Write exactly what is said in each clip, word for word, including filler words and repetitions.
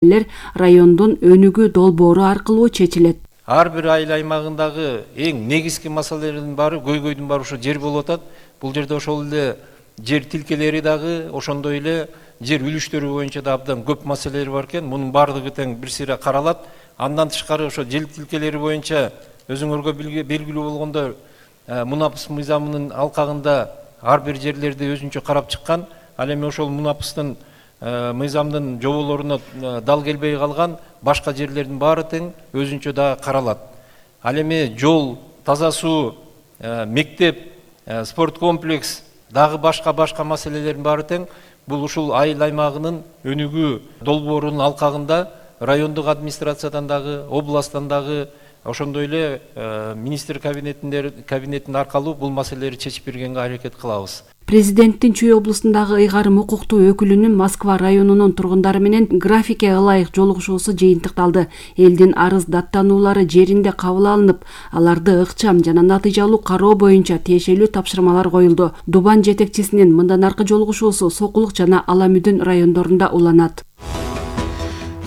райондун өнүгүү долбоору аркылуу чечилет. Ар бир айыл аймагындагы эң негизги маселелердин баары көйгөйдүн баары ошо жер болуп атат. Бул жерде ошол эле жер тилкелери дагы, ошондой эле жер үлүштөрү боюнча да абдан көп маселелер бар экен. Мунун баардыгы тең бир сыйра каралат. Андан тышкары ошо жер тилкелери боюнча өзүңөргө белгилүү болгондой Мунапыс мыйзамынын алкагында ар бир жерлерди өзүнчө карап чыккан. Ал эми ошол Мунапыстын мыйзамдын жоболоруна дал келбей калган башка жерлердин баары тең өзүнчө да каралат. Ал эми жол, таза суу, мектеп, спорт комплекс, дагы башка-башка маселелердин баары тең бул ушул айыл аймагынын өнүгүү долбоорунун алкагында райондук администрациядан дагы, областтан дагы, ошондой эле министр кабинетинин аркылуу бул маселелерди чечип бергенге аракет кылабыз. Президенттин Чүй облусундагы ыйгарым укуктуу өкүлүнүн Москва районунун тургундары менен графикке ылайык жолугушуусу жыйынтыкталды. Элдин арыз даттануулары жеринде кабыл алынып, аларды ыкчам жана натыйжалуу кароо боюнча тиешелүү тапшырмалар коюлду. Дубан жетекчисинин мындан аркы жолугушуусу Сокулук жана Ала Мүдүн райондорунда уланат.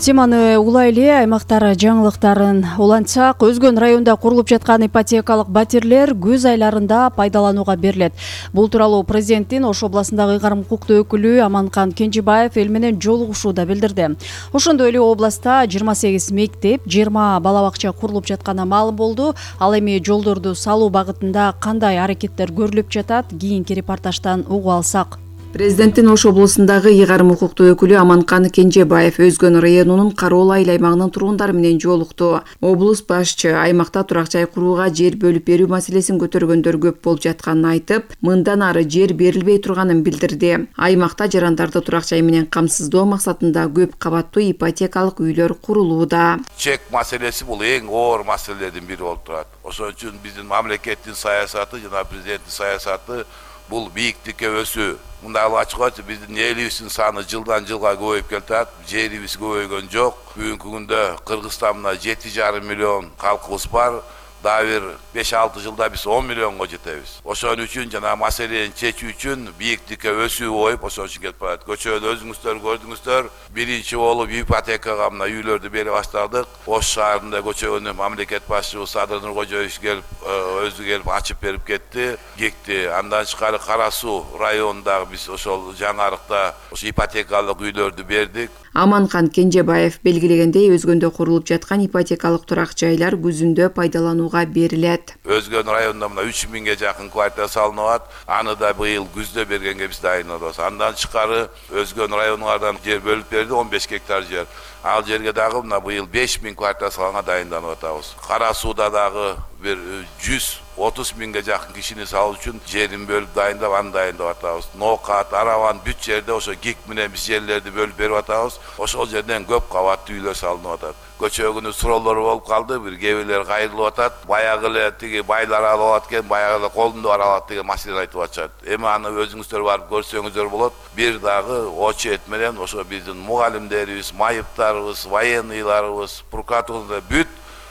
Теманы улай эле аймактар жаңылыктарын улантсак, Өзгөн районунда курулуп жаткан ипотекалык батирлер күз айларында пайдаланууга берилет. Бул тууралуу президенттин Ош областындагы ыйгарым укуктуу өкүлү Аманкан Кенжебаев эл менен жолугушууда билдирди. Ошондой эле областта жыйырма сегиз мектеп, жыйырма бала бакча курулуп жатканы маалым болду. Ал эми жолдорду салуу багытында кандай аракеттер көрүлүп жатат, кийинки репортаждан угуп алсак. Президенттин Ош облусундагы ыйгарым укуктуу өкүлү Аманкан Кенжебаев Өзгөн районунун Кароол айыл аймагынын тургундары менен жолукту. Облус башчы аймакта турак жай курууга жер бөлүп берүү маселесин көтөргөндөр көп болуп жатканын айтып, мындан ары жер берилбей турганын билдирди. Аймакта жарандарды турак жай менен камсыздоо максатында көп кабаттуу ипотекалык үйлөр курулууда. Чек маселеси бул эң оор маселелердин бири болуп турат. Ошон үчүн биздин мамлекеттин саясаты жана президенттин саясаты бул бийиктикке өсүү. Мында ачык айтып, биздин элибиздин саны жылдан жылга көбөйүп келатат. Жерибиз көбөйгөн жок. Бүгүнкү күндө Кыргызстанда мына жети жарым миллион калкыбыз бар. Дагы бир беш алты жылда биз он миллионго жетебиз. Ошон үчүн жана маселени чечүү үчүн бийиктикке өсүү коюп, ошон үчүн кетип барат. Көчөдө өзүңүздөр көрдүңүздөр, биринчи болуп ипотекага мына үйлөрдү бере баштадык. Ош шаарында көчөгөнү мамлекет башчыбыз Садыр Нуркожоевич келип, өзү келип ачып берип кетти, кекти. Андан тышкары Кара Суу районундагы биз ошол жаңарыкта ошо ипотекалык үйлөрдү бердик. Аманкан Кенжебаев белгилегендей, Өзгөндө курулуп жаткан ипотекалык турак жайлар күзүндө пайдаланууга берилет. Өзгөн районунда мына үч миңге жакын квартира салынып атат. Аны да быйыл күздө бергенге биз дайындалабыз. Андан тышкары Өзгөн районунан жер бөлүп берди, он беш гектар жер. Ал жерге дагы мына быйыл беш миң квартира салганга дайынданып атабыз. Кара Сууда дагы бир жүз отуз миңге жакын кишини салуу үчүн жерин бөлүп дайындап, аны дайындап атабыз. Ноокат, Араван бүт жерде ошо ГИК менен биз жерлерди бөлүп берип атабыз. Ошол жерден көп кабаттуу үйлөр салынып атат. Көчөгүнү суроолору болуп калды, бир кээ бирлер кайрылып атат. Баягы эле тиги байлар алып алат экен, баягы эле колунда бар алат деген маселени айтып атышат. Эми аны өзүңүздөр барып көрсөңүздөр болот. Бир дагы очет менен ошо биздин мугалимдерибиз, майыптарыбыз, военныйларыбыз, прокуратурада бүт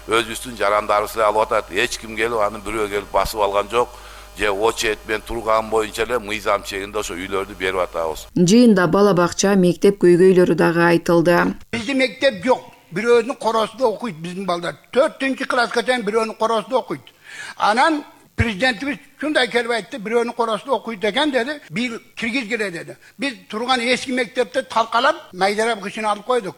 өзүбүздүн жарандарыбыз алып атат. Эч ким келип аны бирөө келип басып алган жок. Же очет мен турган боюнча эле мыйзам чегинде ошо үйлөрдү берип атабыз. Жыйында бала бакча, мектеп көйгөйлөрү дагы айтылды. Биздин мектеп жок. Бирөөнүн коросунда окуйт биздин балдар. төртүнчү класска чейин бирөөнүн коросунда окуйт. Анан президентибиз шундай келип айтты, бирөөнүн коросунда окуйт экен деди. Бир киргизгиле деди. Биз турган эски мектепте талкалап, майдарап кышын алып койдук.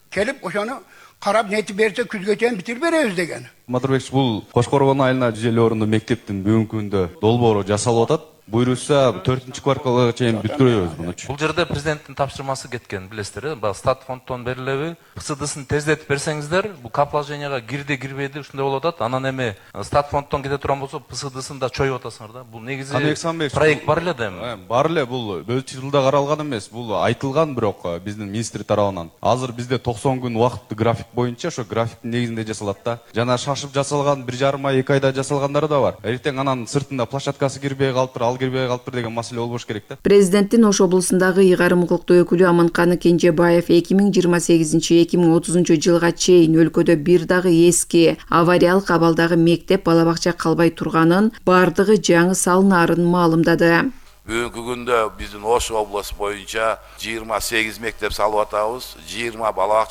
Келип ошону карап нетип берсе күзгө чейин битирип беребиз деген. Мадырбек, бул Кошкорбон айылына жүз элүү орунду мектептин бүгүнкү күндө долбоору жасалып атат. Буйруса төртүнчү кварталга чейин бүткөрөбүз мунучу. Бул жерде президенттин тапшырмасы кеткен, билесиздер, э? Стат фонддон берилеби? ПСДсын тездетип берсеңиздер, бул капложенияга кирди, кирбейди, ушундай болуп атат. Анан эми стат фонддон кете турган болсо, ПСДсын да чоюп атасыңар да. Бул негизи проект бар эле да эми. Бар эле, бул өз жылда каралган эмес, бул айтылган, бирок биздин министр тарабынан. Азыр бизде токсон күн убакыт график боюнча, ошо графиктин негизинде жасалат да. Жана шашып жасалган бир жарым ай, эки айда жасалгандары да бар. Эртең анан сыртында площадкасы кирбей калыптыр, кирбей калыптыр деген маселе болбош керек да. Президенттин Ош облусундагы ыйгарым укуктуу өкүлү Аманкан Кенжебаев эки миң жыйырма сегизинчи эки миң отузунчу жылга чейин өлкөдө бир дагы эски авариялык абалдагы мектеп, бала бакча калбай турганын, бардыгы жаңы салынаарын маалымдады. Бүгүнкү күндө биздин Ош облусу боюнча жыйырма сегиз мектеп салып атабыз, жыйырма бала бакча